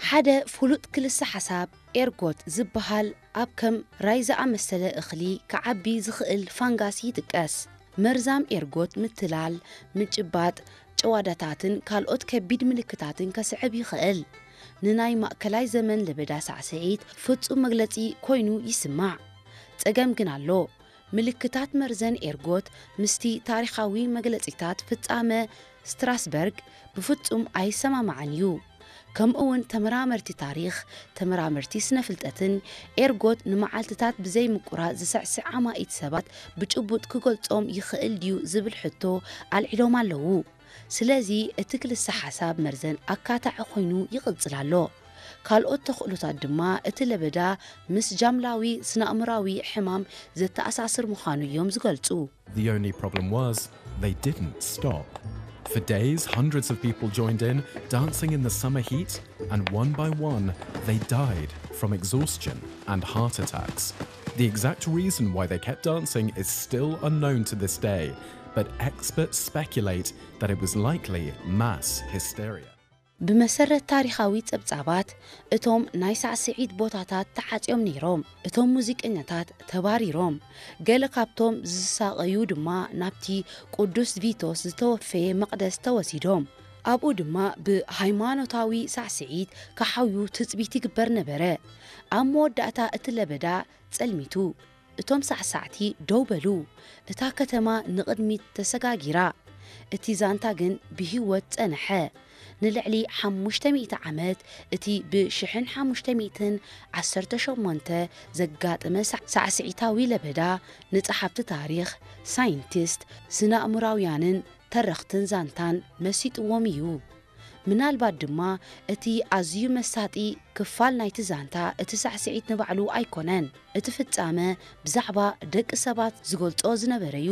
ሓደ ፍሉጥ ክልሰ ሓሳብ ኤርጎት ዝበሃል ኣብ ከም ራይ ዝኣመሰለ እኽሊ ክዓቢ ዝኽእል ፋንጋስ ይጥቀስ። መርዛም ኤርጎት ምትላል፣ ምጭባጥ፣ ጭዋዳታትን ካልኦት ከቢድ ምልክታትን ከስዕብ ይኽእል። ንናይ ማእከላይ ዘመን ለበዳ ሳዕስዒት ፍጹም መግለጺ ኮይኑ ይስማዕ። ጸገም ግን ኣሎ። ምልክታት መርዘን ኤርጎት ምስቲ ታሪኻዊ መግለጺታት ፍጻመ ስትራስበርግ ብፍጹም ኣይሰማማዕን እዩ። ከምኡውን ተመራመርቲ ታሪኽ፣ ተመራመርቲ ስነ ፍልጠትን ኤርጎት ንመዓልትታት ብዘይ ምቁራጽ ዝስዕስዕ ኣማኢት ሰባት ብጭቡጥ ክገልጾም ይኽእል ድዩ ዝብል ሕቶ ኣልዒሎም ኣለዉ። ስለዚ እቲ ክልሰ ሓሳብ መርዘን ኣካታዒ ኮይኑ ይቕጽል ኣሎ። ካልኦት ተኽእሎታት ድማ እቲ ለበዳ ምስ ጃምላዊ ስነኣእምራዊ ሕማም ዘተኣሳስር ምዃኑ እዮም ዝገልጹ። The only problem was, they didn't stop. For days, hundreds of people joined in, dancing in the summer heat, and one by one, they died from exhaustion and heart attacks. The exact reason why they kept dancing is still unknown to this day, but experts speculate that it was likely mass hysteria. ብመሰረት ታሪኻዊ ጸብጻባት፣ እቶም ናይ ሳዕስዒት ቦታታት ተዓጽዮም ነይሮም። እቶም ሙዚቀኛታት ተባሪሮም። ገለ ካብቶም ዝሳቐዩ ድማ ናብቲ ቅዱስ ቪቶስ ዝተወፈየ መቕደስ ተወሲዶም። ኣብኡ ድማ ብሃይማኖታዊ ሳዕስዒት ክሓውዩ ትጽቢት ይግበር ነበረ። ኣብ መወዳእታ እቲ ለበዳ ጸልሚቱ። እቶም ሳዕሳዕቲ ደው በሉ። እታ ከተማ ንቕድሚት ተሰጋጊራ። እቲ ዛንታ ግን ብህይወት ጸንሐ። ንልዕሊ ሓሙሽተ ሚእቲ ዓመት እቲ ብ ሽሕን ሓሙሽተ ሚእትን ዓሰርተ ሸሞንተ ዘጋጠመ ሳዕ- ሳዕስዒታዊ ለበዳ ንጸሓፍቲ ታሪኽ፣ ሳይንቲስት፣ ስነ-ኣእምራውያንን ተረኽትን ዛንታን መሲጥዎም እዩ። ምናልባት ድማ እቲ ኣዝዩ መሳጢ ክፋል ናይቲ ዛንታ እቲ ሳዕስዒት ንባዕሉ ኣይኮነን። እቲ ፍጻመ ብዛዕባ ደቂ ሰባት ዝገልጾ ዝነበረ እዩ።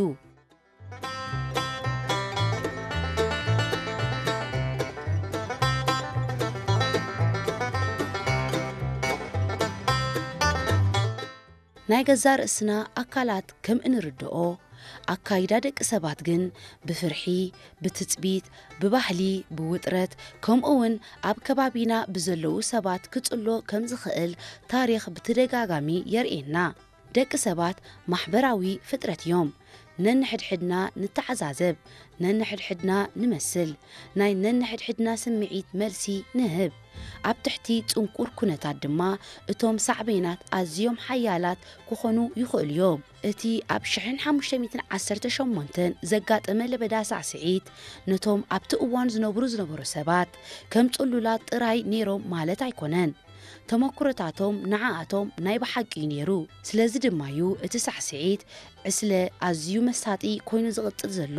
ናይ ገዛእ ርእስና ኣካላት ከም እንርድኦ፣ ኣካይዳ ደቂ ሰባት ግን ብፍርሒ፣ ብትጽቢት፣ ብባህሊ፣ ብውጥረት፣ ከምኡውን ኣብ ከባቢና ብዘለዉ ሰባት ክጽሎ ከም ዝኽእል ታሪኽ ብተደጋጋሚ የርእየና። ደቂ ሰባት ማሕበራዊ ፍጥረት እዮም። ነንሕድሕድና ንተዓዛዘብ፣ ነንሕድሕድና ንመስል፣ ናይ ነንሕድሕድና ስምዒት መልሲ ንህብ። ኣብ ትሕቲ ጽንኩር ኩነታት ድማ እቶም ሳዕቤናት ኣዝዮም ሓያላት ክኾኑ ይኽእሉ እዮም። እቲ ኣብ ሽሕን ሓሙሽተ ሚእትን ዓሰርተ ሸሞንተን ዘጋጠመ ለበዳ ሳዕስዒት ነቶም ኣብቲ እዋን ዝነብሩ ዝነበሩ ሰባት ከም ጽሉላት ጥራይ ነይሮም ማለት ኣይኮነን። ተመኩሮታቶም ንዓኣቶም ናይ ብሓቂ እዩ ነይሩ። ስለዚ ድማ እዩ እቲ ሳዕስዒት ዕስለ ኣዝዩ መሳጢ ኮይኑ ዝቕጽል ዘሎ።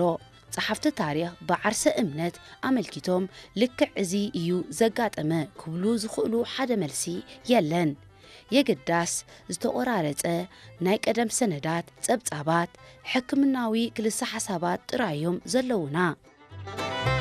ጸሓፍቲ ታሪኽ ብዓርሰ እምነት ኣመልኪቶም ልክዕ እዚ እዩ ዘጋጠመ ክብሉ ዝኽእሉ ሓደ መልሲ የለን። የግዳስ ዝተቖራረጸ ናይ ቀደም ሰነዳት፣ ጸብጻባት፣ ሕክምናዊ ክልሰ ሓሳባት ጥራይ እዮም ዘለዉና።